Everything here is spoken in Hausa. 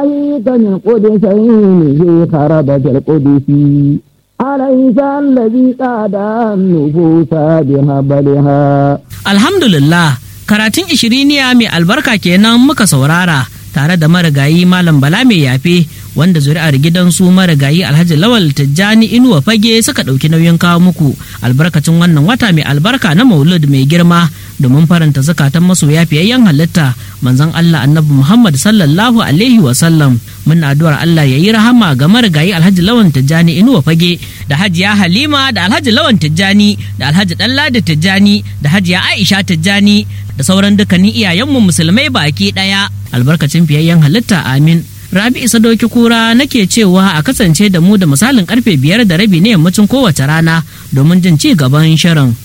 ناهيك من قدسين في خربة القدس أليس الذي قاد النفوس بهبلها. Alhamdulillah, karatun ishiriniya mai albarka kenan muka saurara tare da marigayi Malam Bala Mai Yafe, wanda zuri'ar gidansu marigayi Alhaji Lawal Tijjani Inuwa Fage suka ɗauki nauyin kawo muku albarkacin wannan wata mai albarka na Maulud mai girma, domin faranta zakatan masoya fiyayyen halitta, manzon Allah Annabi Muhammad sallallahu alaihi wasallam. Muna addu'ar Allah ya yi rahama ga marigayi Alhaji Lawan Tijjani Inuwa Fage, da Hajiya Halima, da Alhaji Lawan Tijjani, da Alhaji Ɗanladi Tijjani, da Hajiya Aisha Tijjani, da sauran dukkanin iyayenmu musulmai baki ɗaya, albarkacin fiyayyen halitta, amin. Rabi'u Sadoki Kura nake cewa a kasance da mu da misalin karfe 5:30 na yammacin kowace rana domin jin ci gaban shirin.